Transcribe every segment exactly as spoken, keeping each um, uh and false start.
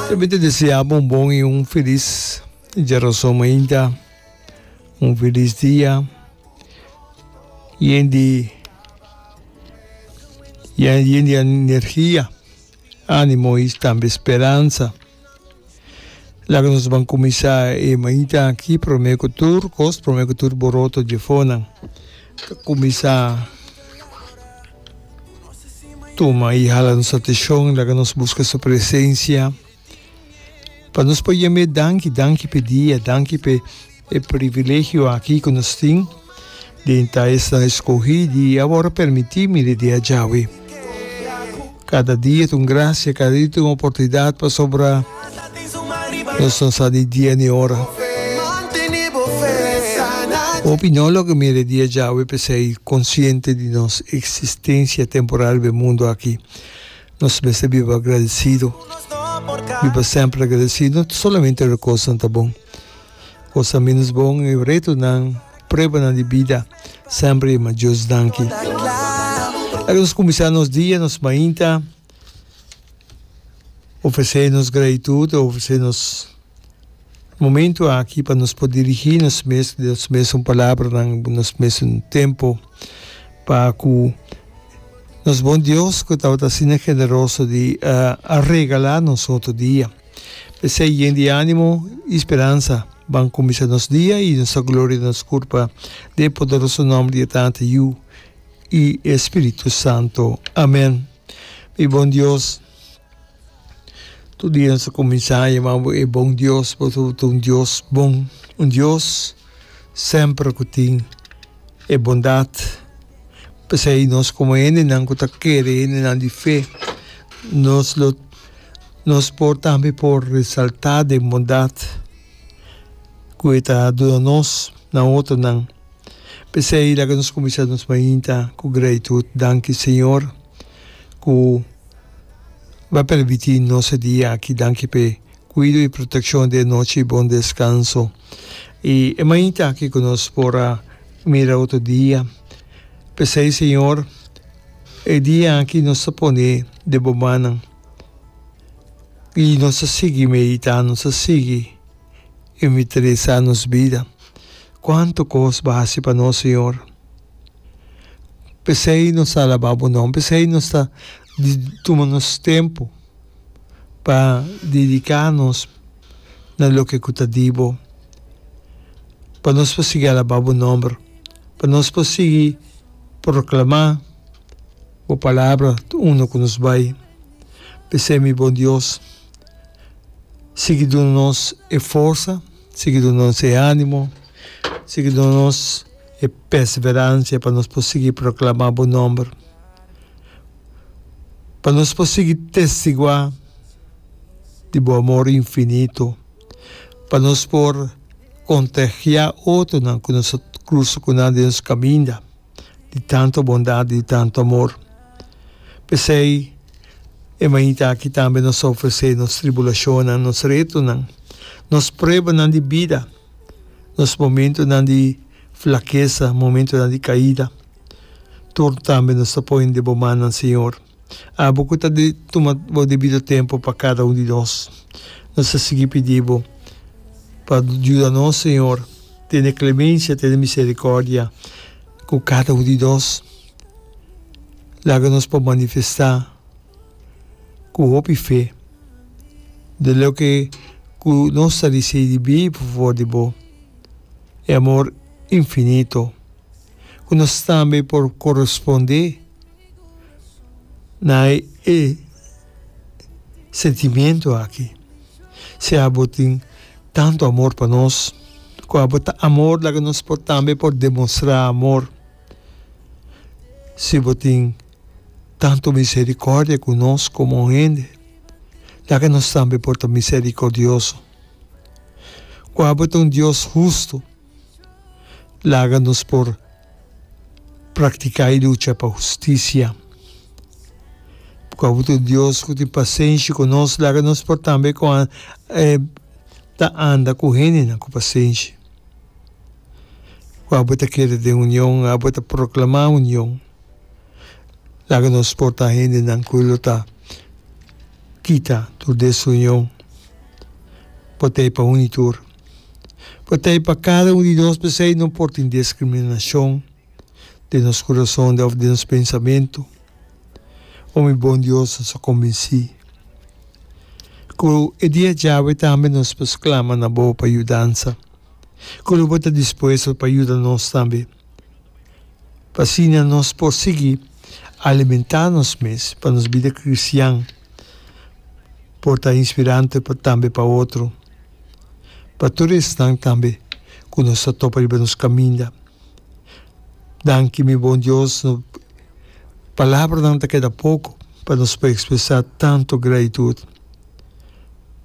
Tambe ta desea bo un bon y un feliz djarazon mainta, un feliz dia yen di yen di energia, animo y tambe speransa. Laga nos ban kuminsá e mainta aki promé ku tur kos, promé ku tur boroto dje fonan ta kuminsá tuma i hala nos atenshon. Laga nos buska su presensia pa nos por yam'é danki, danki p'e dia, danki p'e e privilegio aki ku nos tin den ta esnan eskohí di awor a permití mira e dia djawe. Kada dia ta un grasia, kada dia ta un oportunidat pasobra nos no sa ni dia ni ora. Hopi no logra mira e dia djawe p'esei konsiente di nos eksistensia temporal riba e mundu aki. Nos mester biba agradesido, biba semper agradesido, no solamente ora kosnan ta bon. Cosa menos bon e retonan, pruebanan di bida, semper yama Dios danki. Laga nos cuminsa nos dia, nos mainta, ofrece nos gratitud, ofrece nos momento aki pa nos por dirigi nos mes, nos mesun palabranan, nos mesun tempo pa cu nos bon Dios cu tabata asina generoso di a regala nos otro dia. P'esei yen di ánimo i speransa, ban kuminsá nos dia i nos ta gloria nos kurpa den e poderoso nòmber di e Tata, Yu i e Spiritu Santo. Amèn. Mi bon Dios, tur dia nos ta kuminsá yama bo e bon Dios, bo ta un Dios bon, un Dios semper ku tin e bondat. P'esei nos komo hendenan ku ta kere, hendenan di fe, nos lo. Nos por tambe por resaltá den bondat ku e ta duna nos na otronan. P'esei laga nos kuminsá nos mainta ku gratitut. Danki Señor ku bo a permití nos e dia aki. Danki p'e kuido i protekshon den e nochi i bon deskanso. I e mainta aki ku nos por a mira otro dia. P'esei Señor e dia aki nos ta pone den bo mannan. I nos a sigui meditá, nos a sigui inventarisá nos bida. Kuantu kos bo a hasi pa nos, Señor! P'esei nos ta alabá bo nòmber, p'esei nos ta tuma nos tempu pa dediká nos na loke ku ta di bo, pa nos por sigui alabá bo nòmber, pa nos por sigui proklamá Bo palabra ta unda ku nos bai. P'esei, mi bon Dios, sigui duna nos e forsa, sigui duna nos e ánimo, sigui duna nos e perseveransia pa nos por sigui proklamá bo nòmber, pa nos por sigui testiguá di bo amor infinito, pa nos por kontagiá otronan ku nos a krusa ku nan den nos kaminda. Di tantu bondat, di tantu amor. P'esei, e mainta aki tambe nos ta ofresé nos tribulashonnan, nos retonan, nos pruebanan di bida, nos momentunan di flakesa, momentunan di kaida. Tur tambe nos ta pone den bo mannan, Señor. Abo ku ta tuma bo debido tempu pa kada un di nos. Nos ta sigui pidi bo pa yuda nos, Señor, tene klemensia, tene miserikòrdia ku kada un di nos. Laga nos por manifestá ku hopi fe di loke ku nos ta risibí for di bo, e amor infinito, ku nos tambe por korespondé. Na e sentimiento aki. Si abo tin tanto amor pa nos, ku abo ta amor, laga nos por tambe por demostrá amor. Si bo tin tanto misericordia ku nos komo hende, laga nos tambe por ta misericordioso. Ku abo ta un Dios hustu, laga nos por Praktiká i lucha pa hustisia. Ku abo ta un Dios ku tin pasenshi ku nos, laga nos por tambe ku ta anda ku hendenan ku pasenshi. Ku abo ta kere den union, abo ta proklamá union. Laga nos por ta hendenan ku lo ta kita tur desunion. Bo t'ei pa un i tur. Bo t'ei pa kada un di nos, p'esei no por tin diskriminashon den nos kurason òf den nos pensamentu. O mi bon Dios, nos a kombensí ku e dia djawe tambe nos por sklama na Bo pa yudansa, ku lo Bo ta dispuesto pa yuda nos tambe, pa asina nos por sigui alimentá nos mes pa nos bida kristian por ta inspirante tambe pa otro, pa tur esnan tambe ku nos ta topa riba nos kaminda. Danki mi bon Dios, no palabranan ta keda poko pa nos por ekspresá tantu gratitut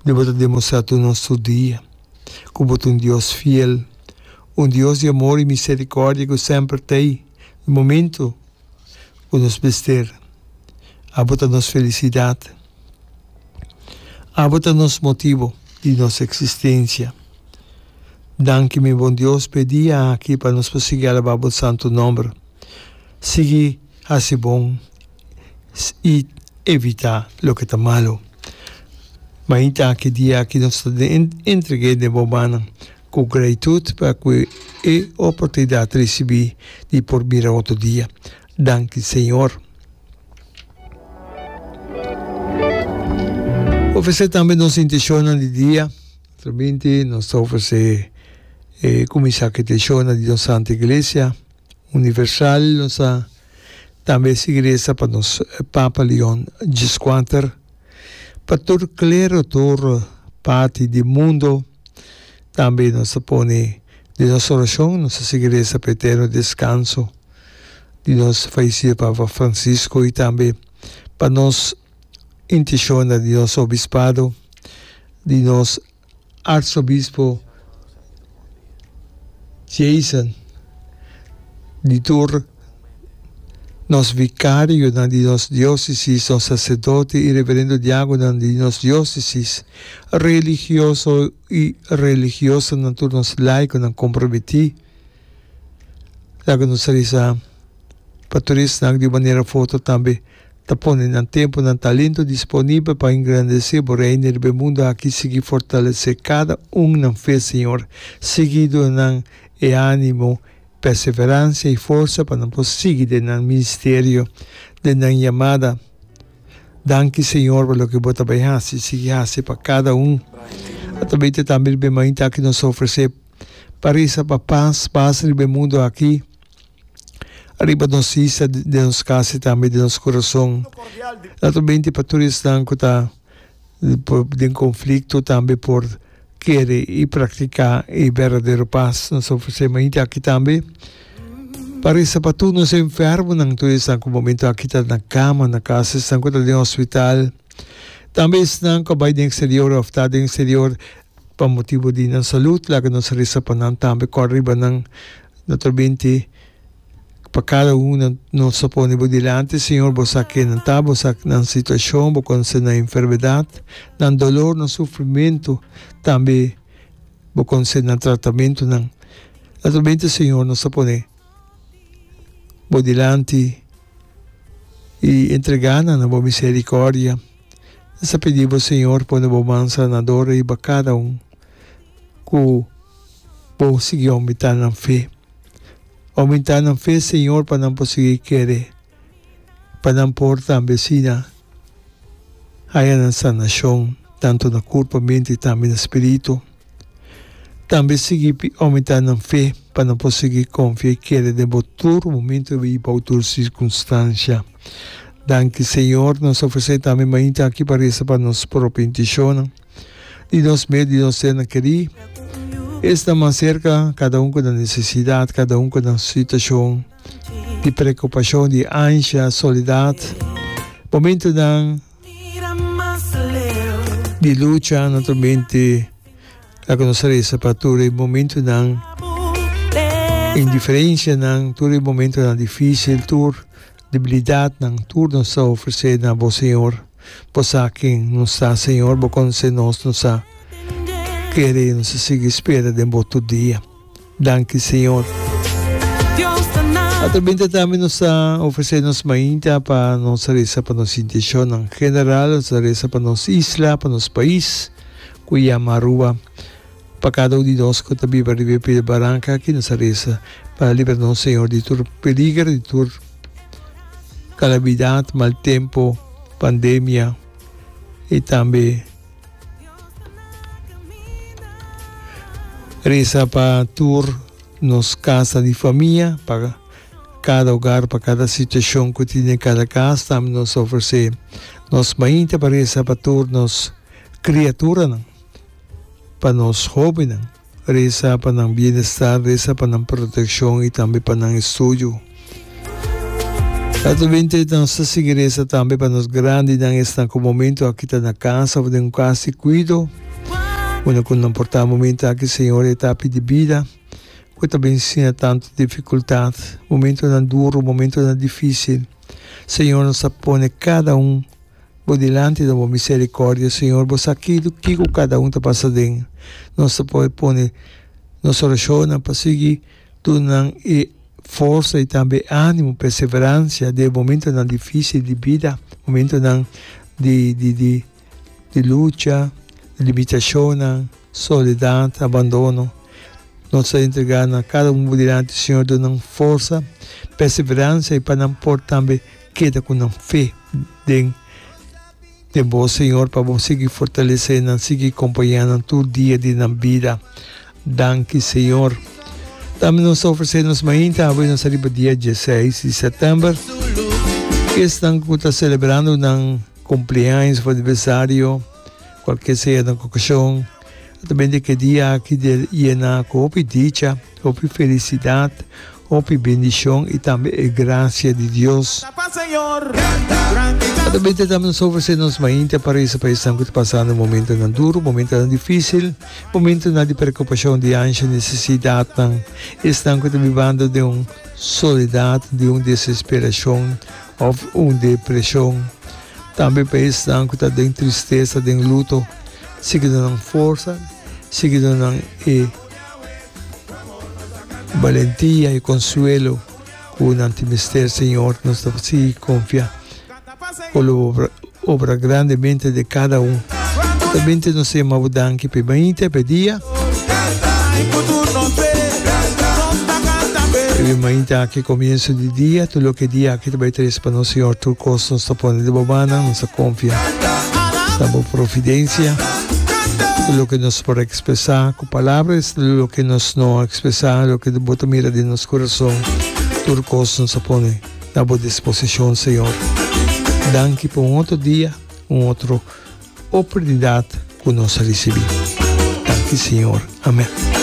di bo ta demostrá tur nos tur dia ku bo ta un Dios fiel, un Dios di amor i miserikòrdia ku semper t'ei na momentu ku nos mester. Abo ta nos felisidat. Abo ta nos motibu di nos eksistensia. Danki mi bon Dios p'e dia aki pa nos por sigui alabá bo santu nòmber. Sigui hasi bon i evitá loke ta malu. Mainta aki dia aki nos ta entreg'é den bo mannan ku gratitut pa ku e oportunidat risibí di por mira otro dia. Danki Señor. Ofresé tambe nos intenshonnan di dia. Naturalmente nos ta ofresé e kuminsá ku intenshonnan di nos Santa Iglesia Universal. Nos ta tambe sigui resa pa nos Papa Leon Dieskuater, pa tur klero, tur parti di mundo. Tambe nos ta pone den nos orashon, nos ta sigui resa pa eterno deskanso di nos fayesido Papa Francisco i tambe pa nos intishonnan di nos obispado, di nos Arsobispo Jason, di tur nos vikarionan di nos diósesis, nos saserdote i reverendo diagonan di nos diósesis, religioso i religiosanan, tur nos laikonan komprometí. Laga nos resa pa tur esnan di un manera of otro tambe ta pone nan tempu, nan talento disponibel pa engrandesé bo Reino riba e mundu aki. Sigui fortalesé kada un nan fe, Señor. Sigui duna nan e ánimo, perseveransia i forsa pa nan por sigui den nan ministerio, den nan yamada. Danki, Señor, pa loke bo ta bai hasi, sigui hasi pa kada un. Atrabes tambe riba e mainta aki nos ta ofresé pa resa pa pas, pas riba e mundu aki, riba nos isla, den nos kas i tambe den nos kurason. Naturalmente pa tur esnan ku ta den konflikto tambe por kere i praktiká e berdadero pas. Nos ta ofresé mainta aki tambe pa resa pa tur nos enfermonan, tur esnan ku momento aki ta na kama, na kas, esnan ku ta den hospital, tambe esnan ku a bai den eksterior òf ta den eksterior. Pa motibu di nan salud, laga nos resa pa nan tambe, kòrda riba nan. Naturalmente, pa kada un nos ta pone bo dilanti, Señor, bo sa ken nan ta, bo sa nan situashon, bo konosé nan enfermedat, nan dolor, nan sufrimentu, tambe bo konosé nan tratamentunan. Naturalmente, Señor, nos ta pone bo dilanti i entregá nan na bo miserikòrdia. Nos ta pidi bo, Señor, pone bo man sanador riba kada un ku bo sigui oumentá nan fe. Oumentá nan fe, Señor, pa nan por sigui kere, pa nan por tambe asina haya nan sanashon, tantu na kurpo, mente i tambe na spiritu. Tambe sigui oumentá nan fe pa nan por sigui konfia i kere den bo tur momentu i bou tur sirkunstansia. Danki Señor, nos ofresé tambe mainta aki pa resa pa nos propio intishonnan, di nos mes, di nos sernan kerí, esnan mas serka, kada un ku nan nesesidat, kada un ku nan situashon di preokupashon, di ansha, soledat, momentunan di lucha, naturalmente. Laga nos resa pa tur e momentunan, indiferencianan, tur e momentunan dificil, tur debilidadnan, tur nos ta ofrece na bo, Señor. Bo sa ken nos ta, Señor, bo conoce nos, nos ta kere y nos ta sigui spera den bo tur dia. Danki, Señor. Atrabente tambe nos ta ofrece nos mainta pa nos resa pa nos intencionnan general, nos ta resa pa nos isla, pa nos pais. Ku yama Aruba. Pa kada un di nos ku ta biba riba e pida baranka aki nos a resa pa libra nos Señor di tur peliger, di tur kalamidat, mal tempu, pandemia i tambe resa pa tur nos kasa di famia, pa kada hogar, pa kada situashon ku tin den kada kas. Tambe nos ofresé nos mainta pa resa pa tur nos kriaturanan, pa nos hóbennan, resa pa nan bienestar, resa pa nan protekshon i tambe pa nan estudio. Naturalmente nos ta sigui resa tambe pa nos grandinan, esnan ku momento aki ta na kas òf den un kas di kuido, unda ku nan por ta momento aki, Señor, e etapa di bida ku ta bin siña tantu difikultat, momentonan duru, momentonan difísil. Señor, nos ta pone kada un Bo dilanti na bo misericordia, Señor, bo sa kiko kada un ta pasa den. Nos ta por pone nos oracionnan pa sigui duna nan e forsa y tambe animo, perseverancia den e momentonan dificil di bida, momentonan di di di di lucha, limitacionnan, soledad, abandono. Nos ta entrega na kada un bo dilanti, Señor, duna nan forsa, perseverancia y pa nan por tambe Keda ku nan fe den den bo, Señor, pa bo sigui fortalesé nan, sigui kompañá nan tur dia di nan bida. Danki, Señor. Tambe nos ta ofresé nos mainta awe nos riba dia dieseis di sèptèmber. Esnan ku ta selebrando nan kumpleaños òf aniversario, kualke sea nan okashon, ta bende ku e dia aki di yena ku hopi dicha, hopi felisidat, Hopi bendicion y tambe e gracia di Dios. Atabente tambe nos ofrece nos mainta pa reza pa esnan cu ta pasando momentonan duro, momentonan dificil, momentonan di preocupacion, di ansha, necesidadnan, esnan cu ta bibando den un soledad, den un desesperacion of un depresion. Tambe pa esnan cu ta den tristeza, den luto, sigui duna nan forsa, sigui duna nan e. Balentia i konsuelo ku nan tin mester, Señor. Nos ta sigui konfia ku lo bo obra grandemente den kada un. Totalmente nos ta yama bo danki pa e mainta i pa e dia. E mainta aki komienso di dia, tur loke e dia aki ta bai trese pa nos, Señor, tur kos nos ta pone den bo mannan, nos ta konfia na bo providensia. Tur loke nos por ekspresá ku palabra es loke nos no a ekspresá, loke bo ta mira den nos kurason, tur kos nos a pone na bo disposishon, Señor. Danki pa un otro dia, un otro oportunidat ku nos a risibí. Danki, Señor. Amèn.